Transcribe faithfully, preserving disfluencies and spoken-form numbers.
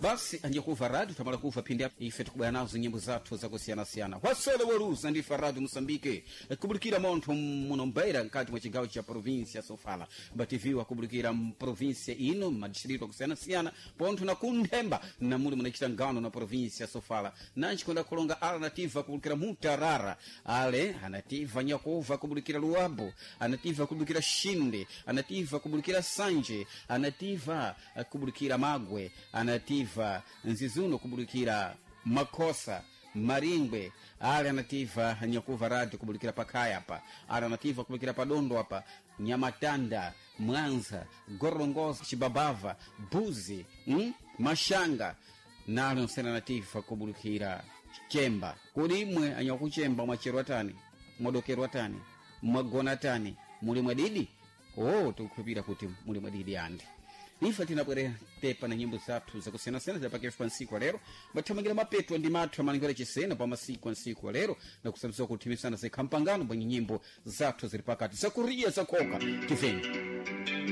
Basi anjakuva radio tamala kuva phindi apo ife tikubwera nazo nyimbo zathu zakusiyanasiyana. Wasele weruza ndi Radio Moçambique kubulikira montho muno Mbeira, mkati mwa chigawo cha província Sofala. Bativiwa kubulikira mprovíncia ino, madistrito akusiyana-siyana, pontho na kunthemba namuli munachita ngano na província Sofala. Nanji kwenda kulonga ala nativa kubulikira Mutarara, ale anativa nyakuva kubulikira Luabo, anativa kubulikira Shinde, anativa kubulikira Sanje, anativa eh, kubulikira Magwe, anativa Nzizuno kubulikira Makosa, Maringwe. Ale anativa nyakuva radio kubulikira pakhaya apa, ale anativa kubulikira padondo apa, Nyamatanda, Mwanza, Gorongosa, Chibabava, Buzi, mm? Mashanga nalo nsena nativa kubulikira Chemba. Kodi imwe anyakuchemba mwacherwa tani, mwadokerwa tani, mwagona tani, muli mwadidi? Oh, tikukhulupira kuti muli mwadidi andi. Ife tinabwerera tepa na nyimbo zathu zakusiyanasiyana zidapakefu pa nsiku alero, bathamangira mapeto ndi mathu amalingiro achisena pa masiku a nsiku alero, na kusabziwa kuthimisana zikhampangano bwenye nyimbo zathu zili pakati zakuriya zakhoka tiveni.